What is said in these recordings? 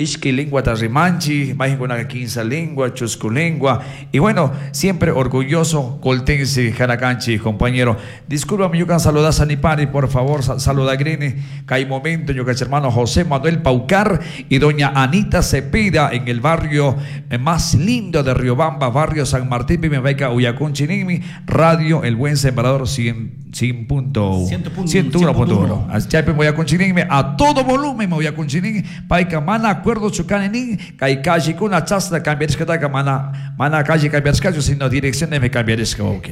Ishki linguata rimanchi, mayqinkunaqa kinsa lengua, chusku lengua. Y bueno, siempre orgulloso coltense kanakanchik, compañero. Discúlpame, ñukan saludasa nipani, por favor, saludagrini. Kay momento, ñuka hermano José Manuel Paucar y doña Anita Cepeda en el barrio más lindo de Riobamba, barrio San Martín, Pimepaica, Uyacunchinimi, Radio El Buen Sembrador 100, 101.1. Chaypi uyakunchinimi, a todo volumen uyakunchinimi, payka mana acuerdo chukani nin, kay callecuna chasna cambiarishkataka mana, mana calle cambiarishkachu, sino direcciones cambiarishka, ok.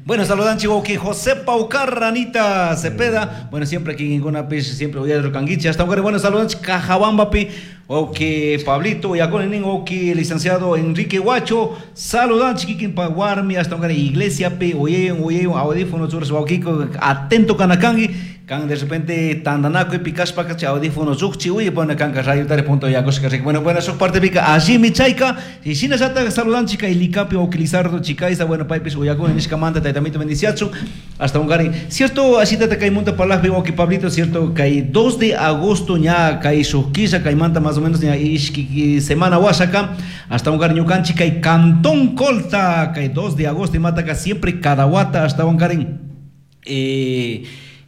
Bueno, saludan wawki José Paucar, Anita Cepeda. Bueno, siempre aquí en Gunapish, siempre voy a Canguiche. Hasta ahora, bueno, saludan Cajabambapi, wawki Pablito, Yaconenin, wawki licenciado Enrique Huacho. Saludan Chiquiquin Paguarmi, hasta ahora Iglesia P, oye, oye, audífono, churros, wawkiko, atento kanakangui. Kan de repente tandanaco y picaspa cachi audífono zukchi uy bueno kanka radio tare punto ya cosa que bueno bueno su parte pica allí mi chaica y sin llata saludan chica y licapi o lizardo chica esa bueno paipis uyakuna nishka manta taytamito bendiciachu hasta un gari cierto así tata kay munta palajpi wawki Pablito cierto kay 2 de agosto ña kay shuk kay manta más o menos ña ishki semana wasaka hasta un gari ñukanchik kay Cantón Colta kay 2 de agosto y mataka siempre cada wata hasta un gari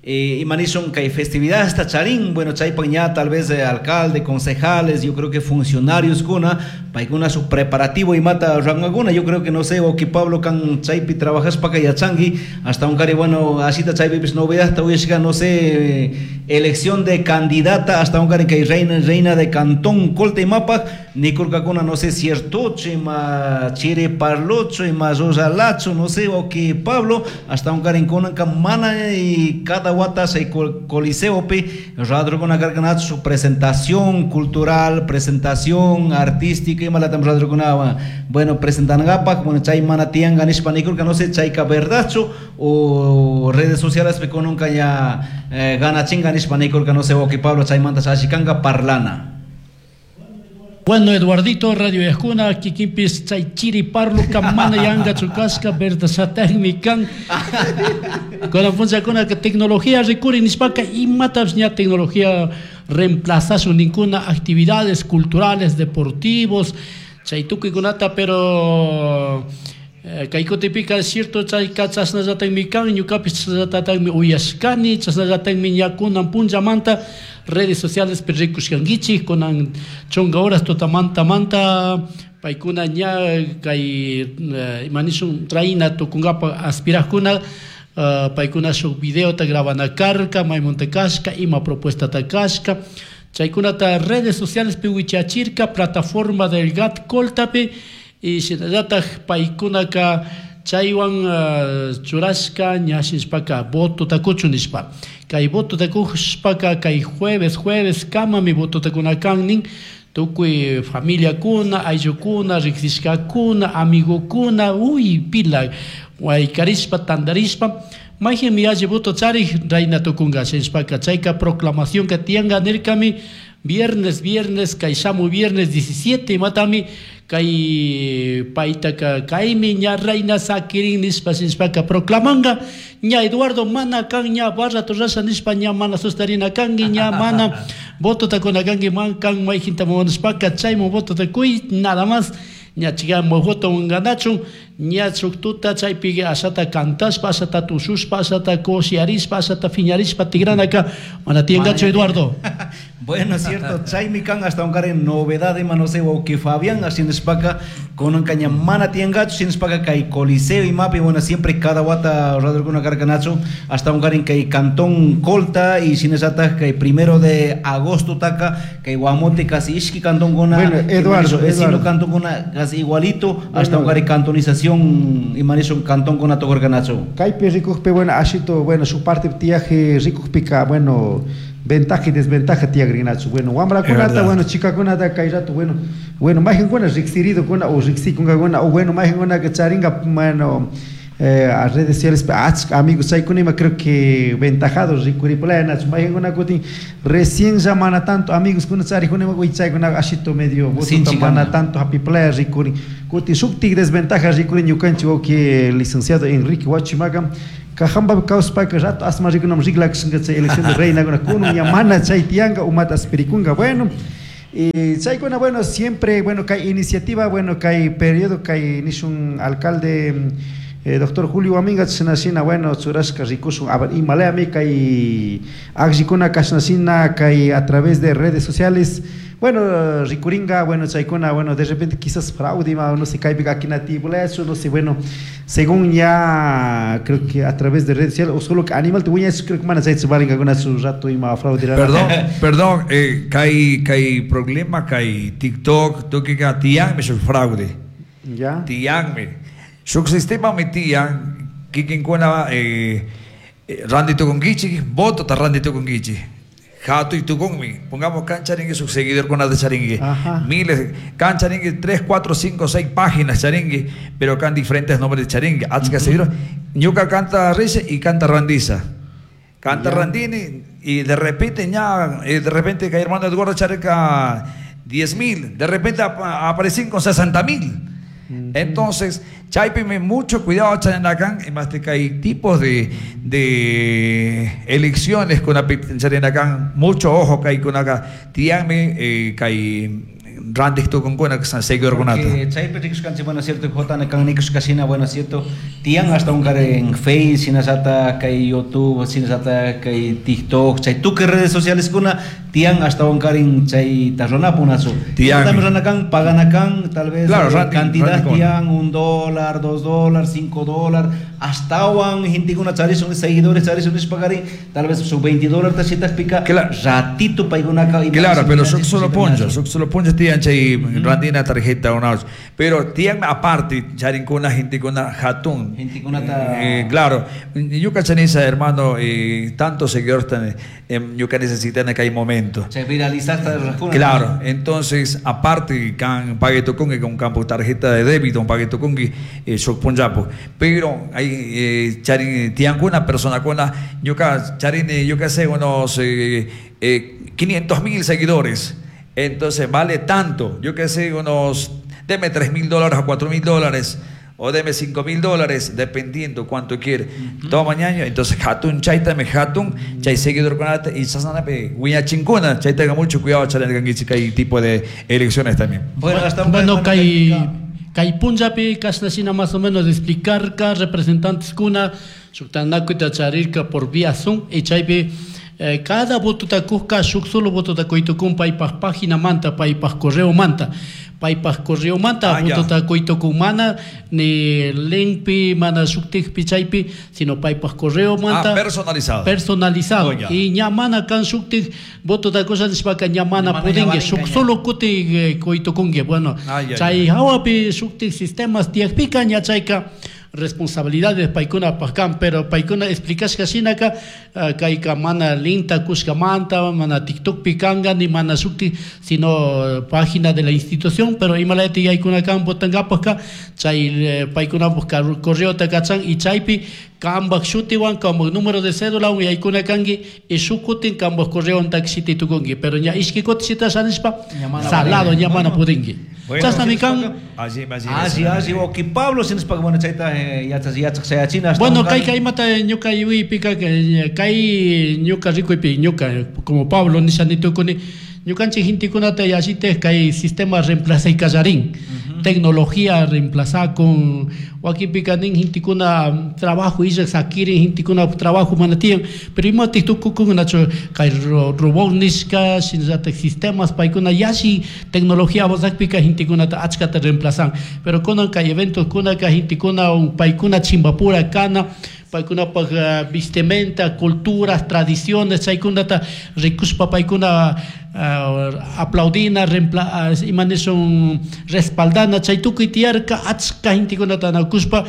imanishun kay festividad hasta charín, bueno, chaypak ña tal vez alcalde, concejales, yo creo que funcionarios kuna, paykuna su preparativo y mata rangaguna, yo creo que no sé, o que Pablo kan chaypi trabajaspa yachangi, hasta un cari, bueno, así ta chaypi pues novedad, hasta hoy no sé, elección de candidata, hasta un cari que reina, reina de Cantón Colta y Mapa, nikurkakuna, no sé, cierto, ima chiri parlocho, ima rosalacho, no sé, o que Pablo, hasta un cari kunan mana y cada wata se coliseo pi radrukuna karkanachu su presentación cultural, presentación artística y malatam radrukuna bueno presentangapak, bueno chay mana tianga nishpa nikurka no sé chayka verdadchu o redes sociales pi kununka ya ganachinga nishpa nikurka no sé o que Pablo chaymanta chashikanga parlana. Bueno, Eduardito, Radio Yajuna, kikinpis chay chiri parlo mana yanga chukashka, verdasatagmi kan. Con la que tecnología recurre nishpaka imatash ña tecnología reemplaza ninguna actividades culturales, deportivos, chay tukuykunata, pero kay kutipika cierto chayka chashnallatagmi kan, ñukapis chashnallatagmi uyashkani, chashnallatagmi ña kunan punllamanta redes sociales rikushkankichik, kunan chunka horas tutamanta manta paykuna ña kay imanishun reina tukunkapa aspirajkuna, paykuna shuk videota grabana karka, maymunta kashka, ima propuestata kashka, chaykunata redes sociales pi wichachirka, plataforma del GAT Coltapi, y shinallataj paykunaka chaywan churashka ñashishpaka voto takuchu nishpa. Kay voto takushpaka kay jueves, jueves kamami voto takunakan nin, tukuy familiakuna, ayllukuna, riksishkakuna, amigokuna, uy pila, waykarishpa, tandarishpa, mayqinmi alli voto charik reina tukunka shishpaka chayka proclamación ka tiyanka nirkami viernes, viernes, kay shamu viernes 17 matami, kay paytaka kaymi ña reina sakirin nishpa shishpaka proclamanga, ña Eduardo mana kan ña barra torrasha nishpa ña mana sustarina kanki, ña mana voto takuna kanki, man kan mayqinta munashpaka chayman voto takuy, nada más, ña chigamo voto ganachun, ña chuktuta chaypi ashata cantashpa, ashata tushushpa, ashata koshiarishpa, ashata fiñarishpa tigranaka, mana tiyangachu Eduardo. Bueno, es cierto, chaymi kan hasta un karen novedad ima no sé, o que Fabián así nishpaka, con un caña mana tiyangachu, sin nishpaka kay coliseo y mapi, bueno, siempre cada wata radrukuna karkanachu, hasta un karen kay Cantón Colta y sin esa kay 1 de agosto taka, kay Guamote casi ishki cantón gona, bueno, Eduardo, vecino Eduardo. Cantón gona casi igualito, hasta un Bueno. karen cantonización y manizo cantón gona tokorkanachu. Kaypi rikukpi, bueno, ashito, bueno, su parte tiaje rikukpika, bueno, ventaja y desventaja tiagrinachu. Bueno, wamrakunata, Es verdad. bueno, chicakunata, kay rato, bueno, bueno, mayqankuna riqsirido kuna o riqsikunkakuna, o bueno, mayqankuna que charinga, bueno, a redes sociales, achka amigos chaykunima creo que ventajados rikuripulaya, mayqankuna kutin recién ya mana tanto amigos kuna charikuna, uy, chaykuna ashito medio voto Sinchi mana kana. tanto hapipulaya rikurin. Kutin shuktik desventaja rikurin ñukanchik wawqi licenciado Enrique Huachimaga, Kajamba kawsapaka rato asma rikunam riklakushinka chay elección de reina kuna kunun ña mana chay tiyanka umata aspirikunka. Bueno, Y chaykuna, bueno, siempre, bueno, kay iniciativa, bueno, kay periodo, kay nishun alcalde doctor Julio Guaminga chashnashina, bueno, churashka rikushun, a ver, imalayami kay akllikuna kashnashina, kay a través de redes sociales, bueno, rikuringa, bueno, chaykuna, bueno, de repente quizás fraude, ima, no sé, kaypika akinatibulachu, no sé, bueno, según ya, creo que a través de redes sociales, o solo que animal te voy a decir, creo que mana chayta valingakuna su rato ima fraude. Perdón, perdón, kay, kay problema, kay TikTok, tukika tiyanmi shuk fraude. Ya. Tiyanmi. Shuk sistema mi tiyan, kikinkuna, randi tukunkichik, voto ta randi tukunkichik. Jato y tukunmi. Pongamos cancharingui, su seguidor con de charingui. Ajá. Miles, cancharingui, 3, 4, 5, 6 páginas charingui, pero acá en diferentes nombres de charingui. Achka seguidor. Ñuka canta Reyes y canta Randiza. Canta Randini y de repente ya, de repente que hermano Eduardo Chareca 10.000, de repente aparecen con 60.000. Entonces, chaypime mucho cuidado, Charenacán, y más que hay tipos de elecciones con la Charenacán, mucho ojo que hay con acá. Tianme, que hay randik tu con que san seguidor con ata. Porque chaype rikushkanchik, bueno, cierto, jota na kan nikushkashina, bueno, cierto, tian hasta un care en Face, sinasata, kay YouTube, sinasata, kay TikTok, chay tuque redes sociales kuna, tian hasta un care en chay tarronapunazu. Tian. También ranakan, paganakan, tal vez, Claro, randik, cantidad randik con. tian, un dólar, dos dólares, cinco dólares, hasta un gente kuna charisun, seguidores charisun, pagarín, tal vez su veinte dólares, tasitas pica, ratito paigunaka y Claro, más pero y más solo y poncho, más. solo poncho tian chay randina tarjeta una ocho. Pero tian aparte, charin con la gente con la jatún. Gente con ta- Claro, yo cachanisa, hermano, tantos seguidores tan yo que necesitan que hay momento. Se viraliza hasta el rascuna. Claro, entonces, aparte, can pague tu con con campo tarjeta de débito, un pague tu con shock ponjapo. Pero hay charin, tian con una persona con la, yo ca, charin, yo que sé, unos 500.000 seguidores. Entonces vale tanto, yo que sé, unos, deme tres mil dólares o cuatro mil dólares, o deme cinco mil dólares, dependiendo cuánto quiere. Todo mañana, entonces, jatun, chaita, me jatun, chay seguidor con ate, y sasana, pe, huiña chingona, chay tenga mucho cuidado, chay tenga que hay tipo de elecciones también. Bueno, hasta un Bueno, buen kay, momento. kay punjapi, kasnasina más o menos explicar ka representantes kuna, shuktanakuta charirka por vía Zoom, y chaypi, cada voto ta kuska, shuk solo voto ta koitukun, paypaj página manta, paypaj correo manta. Paypaj correo manta, Ah, ya. voto ta koitukun mana, ni linkpi, mana shuktikpi, chaypi, sino paypaj correo manta. Ah, personalizado. Personalizado. Oh, ya. Y ña mana kan shuktik, voto ta cosa nishpaka ña mana Ña mana pudingue, ña shuk valinga, ña. solo kuti koitukungue. Bueno, Ah, ya, chay ya. hawapi shuktik sistemas tiakpika, ña chayka responsabilidades paikuna pakam, pero paikuna explicashka shinaka kayka mana linta kushka manta, mana TikTok pikanga, ni mana shukti, sino página de la institución, pero imalati yaykuna kan botangapaka, chay paikuna buscar correo takachan y chaypi kambak shutiwan, kambak número de cédula, un yaykuna kangi, y shukutin kambak correo taxiti tukungi, pero ña ishki kotishita shanishpa, Ña mana salado, valera. ña mana pudingi. Bueno. Chasnami kan. Allí, allí, Allí, allí, ok, Pablo, si nos paga, bueno, chaita yachas, yachas, sayachina, hasta Bueno, un kay, can- kay mata, ñuka, yui, pica, que kay, ñuka, rico, y pi, ñuka, como Pablo, ni sanito, con, ñukanchik gentekunata yallite, kay sistema reemplaza y callarín. Tecnología reemplaza con wakinpika nin gentekuna trabajo illa sakirin gentekuna trabajo manatian, pero imatik tukukunachu kay robot nishka shinallatak sistemas paykuna yashi tecnología avanzakpika gentekunata achkata reemplazan, pero kunan kay eventos kuna kay gentekuna un paykuna chimbapura kana paykunapaj vestimenta, culturas, tradiciones, chaykunata rikushpa paykuna aplaudina, imanishun respaldana, chay tukuy tiyarka achka gentekunata nakushpa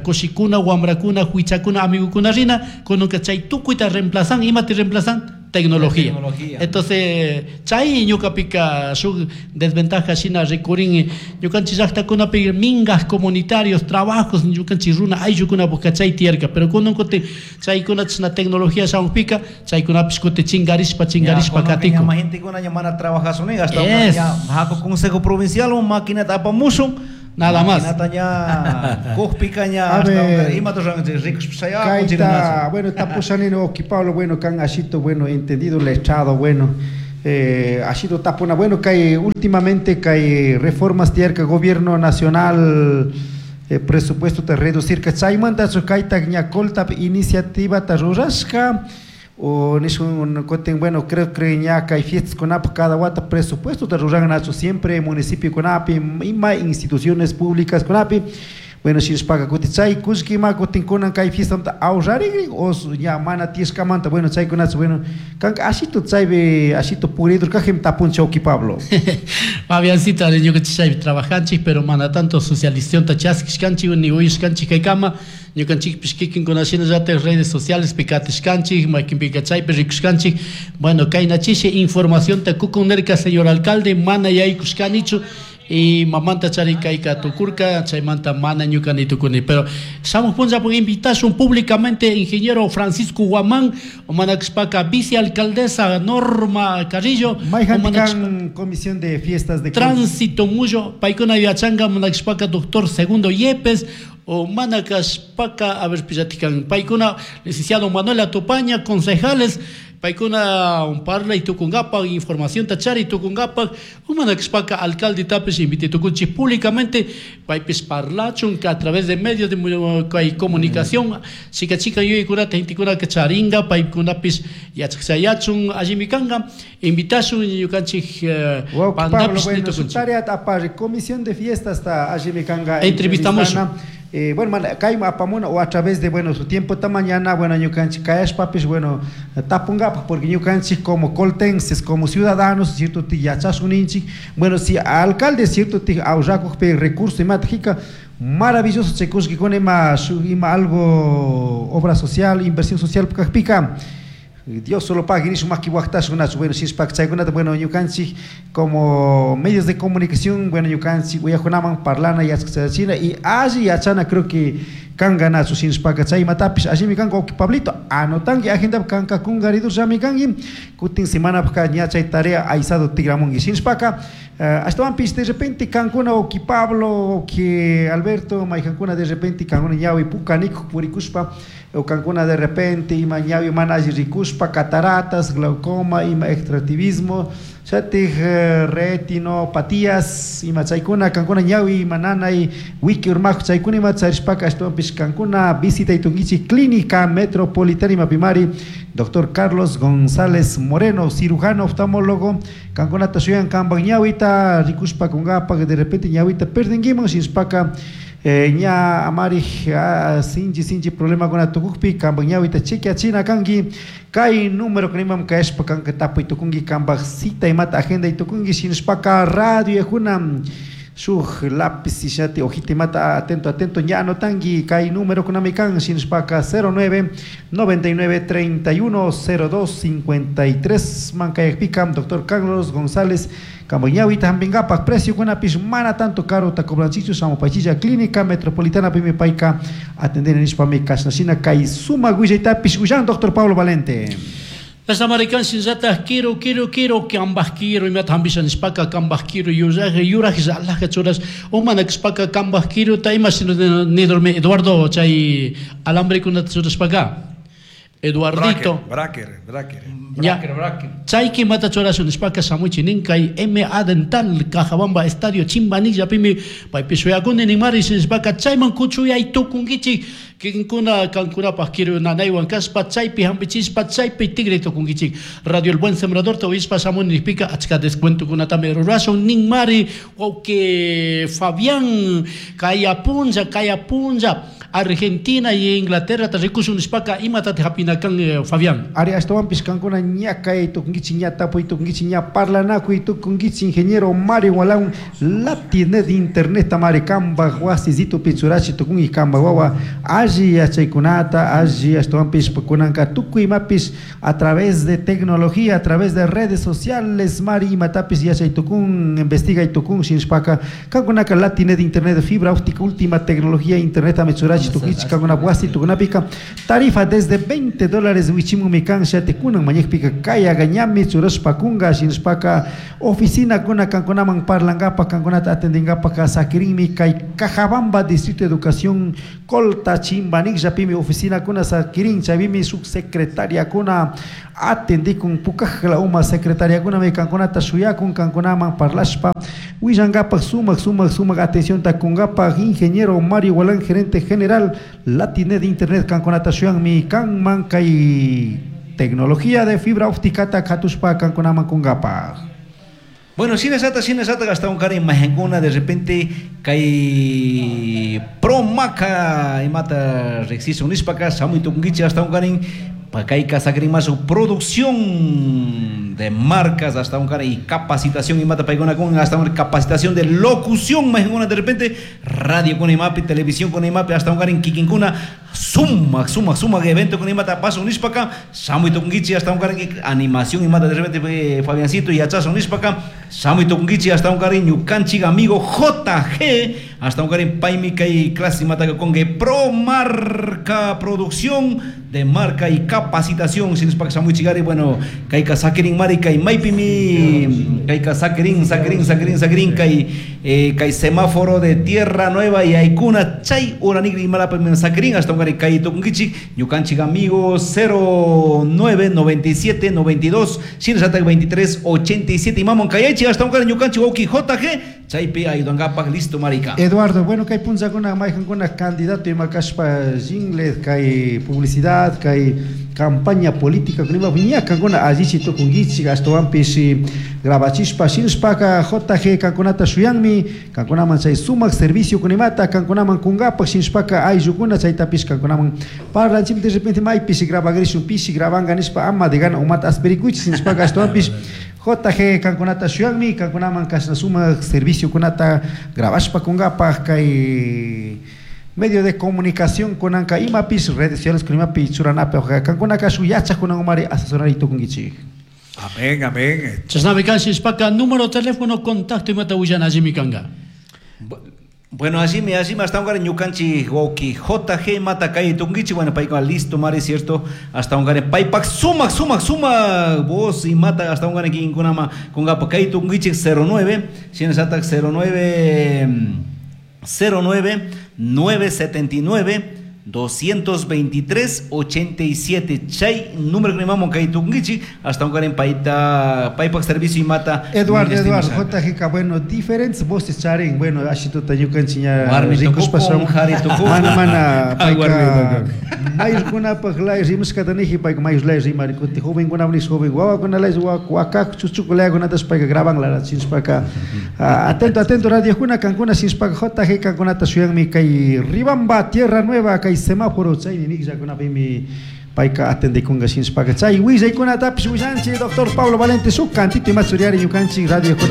kushikuna, wamrakuna, huichakuna, amigukuna rina, kununka chay tukuyta reemplazan, imata reemplazan? Tecnología. Tecnología. Entonces, chay ñuqapika shuk desventaja shina rikurin, ñuqanchik llaqtakunapi mingas comunitarios, trabajos, ñuqanchik runa ayllukuna busca chay tiyarka, pero kunan kuti chaykuna chashna tecnología shamuqpika, chaykunapish kuti chingarishpa, chingarishpa Ya, kunan katiku. ña ma gentekuna ña mana trabajasun, hasta una Es. ña haku consejo provincial, un máquina tapamusun. Nada más. Maquinata ña, cujpica ña, A hasta ver. una, ima tu rango, ricos, pues, allá, Kaita, con chirinazo. bueno, tapushanino, oki Pablo, bueno, can ashito, bueno, entendido, letrado, bueno. Ha sido tapuna. Bueno, que últimamente que reformas tiyarka gobierno nacional presupuesto te reducir que chaymanta kayta ña Colta iniciativa ta rurashka o nishun kutin, bueno, creo que ña kay fiestas kunapa cada wata presupuesto ta ruran siempre municipio kunapi ima instituciones públicas kunapi. Bueno, shinashpaka kutin chay kullkima kutin kunan kay fiestamanta ahorrarigrin o ña mana tiyashkamanta, bueno, chaykunachu, bueno, kanka ashito chaypi ashito puridur kajim tapunchi wawki Pablo. Fabiancito, ñukanchik chaypi trabajanchik, pero mana tanto socialización ta chaskishkanchik ni uyashkanchik kaykama. Ñukanchikpish kikinkuna shinallatak redes sociales pi katishkanchik, maykinpika chaypi rikushkanchik. Bueno, kayna chishi información ta kukun nirka señor alcalde, mana yaykushkanichu y mamanta chari kayka tukurka, chaymanta mana ñuka ni tukuni. Pero shamuj punllapuk invitashun públicamente ingeniero Francisco Guamán, mana kashpaka vicealcaldesa Norma Carrillo, Mayjanti kan comisión de fiestas de Tránsito Muyo, paykuna yachanka mana kashpaka doctor Segundo Yepes, o mana kashpaka, a ver, pillatikan, paykuna licenciado Manuel Atupaña, concejales, paykuna un parla y tukungapak, información tachari tukungapak, umana kashpaka alcalde tapis invite tukunchik públicamente, paypis parlachun que a través de medios de kay comunicación, chica chica yuyaykunata gentekuna que charinga, paykunapis yachaqchayachun allimi kanka, invitashun ñukanchik, Wawqi Pablo, pandapis bueno, su nitukunchik. tarea apari, comisión de fiestas ta allimi kanka Entrevistamos. entrevistana. Bueno, man, kayma apamuna o a través de, bueno, su tiempo ta mañana, bueno, ñukanchik kayashpapis, bueno, tapungapaj, porque ñukanchik como coltenses, como ciudadanos, cierto, ti yachasuninchik, bueno, si alcalde, cierto, ti ahorrakujpi recurso imata jika, maravilloso chay kullkikuna ima, shu, ima algo, obra social, inversión social kajpika, Dios solo paga, ni maki waqtashkunachu, bueno, shishpak chaykunata, bueno, ñukanchik como medios de comunicación, bueno, ñukanchik uyakunaman parlana yachachina y alli yachana creo que kanganachu shinshpaka chaymatapish allimi kanka wawqi Pablito, anotanki agendapi kanka kunkaridur llami kanki, kutin semanapaka ña chay tarea aysado tigramunki shinshpaka, ashtawanpish de repente kankuna wawqi Pablo, wawqi Alberto, maykankuna de repente kankuna ñawi pukanikuk purikushpa, o kankuna de repente ima ñawi mana alli rikushpa, cataratas, glaucoma, ima extractivismo, chatij retinopatías, ima chaykuna, kankuna ñawi ima nanay, wiki urmaj chaykuna ima charishpaka, ashtawanpish kankuna visita itunkichik Clínica Metropolitana ima pimari, doctor Carlos González Moreno, cirujano oftalmólogo, kankunata shuyan kanpak ñawita rikushpa kungapak, de repente ñawita perdinkiman, shinshpaka, ña amarij, sinchi, sinchi problema kuna tukukpi, kanpak ñawita chequeachina kanki, kay número kunimam kayashpa kanka tapuy tukunki, kanpak cita imata agenda itukunki, shinshpaka radio yajuna, shuj lápiz ishati hojita imata atento, atento, ña anotanki, kay número kunami kan, shinshpaka cero nueve, noventa y nueve, treinta y uno, cero dos, cincuenta y tres, mankayakpika, doctor Carlos González Kambañawita hambingapak, precio kunapish mana tanto caro ta cobranchichu, samopachilla, Clínica Metropolitana pimi payka atender nishpami kashnashina kay sumak willaytapish willan doctor Pablo Valente. Las americanas shinllataj quiero, quiero, quiero, que ambas quiero, y me atambisha nishpaka, que ambas quiero, yuraj, yuraj, yalaja, churas, o mana kishpaka, que ambas quiero, ta ima sino de, ni dorme, Eduardo, chay alambre kuna churashpaka. Eduardito. Bracker, Bracker, Bracker. Ya. Bracker, Bracker. Chay ki mata churashun nishpaka, shamuchi ninkay, MA Dental, Cajabamba, Estadio Chimbanilla, pimi, paypi shuyakuni ninmari, nishpaka, chayman kuchuyay tukunkichik, kinkuna, kankunapaj kiru nanaywan kashpa, chaypi hampichispa, chaypi tigre tukunkichik. Radio El Buen Sembrador, te oispa, shamun nishpika, achka descuentokunatami rurashun, ninmari, wawqi Fabián, kayapunlla, kayapunlla, Argentina y Inglaterra, te rikushun nishpaka, imatate hapinakan, Fabián. Ari, ashtawanpish kankuna ña kay tukunkichik, ña tapuy tukunkichik, ña parlanakuy tukunkichik, ingeniero Mario Walán, Latinet internet tamari kambaj wasisito pichurachi tukunki kambaj wawa, alli yachaykunata, alli ashtawanpish kunanka tukuy imapis a través de tecnología, a través de redes sociales, mari imatapis yachay tukun, investigay tukun, shinshpaka, kankunaka Latinet internet fibra óptica, última tecnología internet amechurachi tukunkichik, kankuna wasi tukunapika, tarifa desde veinte dólares wichimun mikan shate kunan mañekpika kaya gañami churashpa kunga shinshpaka oficina kuna kankunaman parlangapa kankunata atendingapa ka sakirinmi kay Cajabamba Distrito de Educación Colta Chimba chimbanikllapimi oficinakuna sakirin chaypimi shuk secretariakuna atendikun pukajla uma secretariakunami kankunata shuyakun kankunaman parlashpa willankapak sumak sumak sumak atencionta kunkapak ingeniero Mario Gualán, gerente general Latinet Internet kankunata shuyanmi kanman kay tecnología de fibra óptica ta katushpa kankunaman kunkapak. Bueno, sinasata hasta un cara imagenkuna de repente kay Promaca imata riqsisun nishpaka shamuy tukunkichik hasta un karin kayka sakirin más su producción de marcas hasta un cara y capacitación imata paykuna kun hasta una capacitación de locución imagenkuna de repente radio con imapi televisión con imapi hasta un karin kikinkuna sumak sumak sumak evento con imata paso nishpaka shamuy tukunkichik hasta un karin animación imata de repente Fabiancito y achazo nishpaka shamuy tukunkichik hasta un karin ñukanchik amigo JG hasta un karin paymi kay clase imata con que pro marca producción de marca y capacitación sinishpaka shamuy chigari bueno kayka sakirin mari kay maypimi kayka sakirin sakirin sakirin sakirin kay kay semáforo de Tierra Nueva y Aikuna chay uranigri imalapimi sakirin hasta un karin kay tukunkichik ñukanchik amigo 09 97 92 sinashatak 23 87 y mamon kayachi hasta un karin ñukanchik wawki JG chaypi ayudankapak listo marica. Eduardo, bueno kay punchakuna maykankuna candidato imakashpa jingle kay publicidad kay campaña política kunima ñakankuna allichi tukunkichik ashtawanpish grabachishpa shinshpaka JG kankunata shuyanmi kankunaman chay sumak servicio kunimata kankunaman kunkapak shinshpaka ayllukuna chaytapish kankunaman parlanchik de repente maypish grabagrishun pishi grabanka nishpa ama de gana umata asperikuychik shinshpaka ashtawanpish JG kankunata shuyanmi kankunaman kashna sumak servicio kunata grabashpa kunkapak kay medio de comunicación kunanka imapis redes sociales kunimapis churanapi kankunaka shuk yachak umari asesorari tukunkichik. Amén, amén. Chashnami kan shishpaka número teléfono contacto imata willana allimi kanka. Bueno, así me hasta un ñukanchik wawki JG mata kay tukunkichik bueno payka listo mari cierto hasta un paypak sumak sumak sumak voz y mata hasta un kinkunama kunkapa kay tukunkichik 09 shinallatak 09 09 979 223 87 chay número que mamon kay tukunkichik hasta un karin payta paypak servicio y mata Eduardo JGK bueno diferentes voces charin bueno ashituta ñukanchik ña rikushpa mana mana payka mayurkunapak lay rimashkata niji payka mayur lay rimari kuti jovenkuna nish joven wawakuna lay wakak chuchuku layakunatash payka graban lara shinshpaka atento atento radiokuna kankuna shinshpaka JG kankunata shuyanmi kay Ribamba Tierra Nueva kay semáforo chaymi mikllakunapimi payka atendikunka shinshpaka chay willaykunatapish willanchik doctor Pablo Valente shuk cantito imatsuriari ñukanchik radiokuna.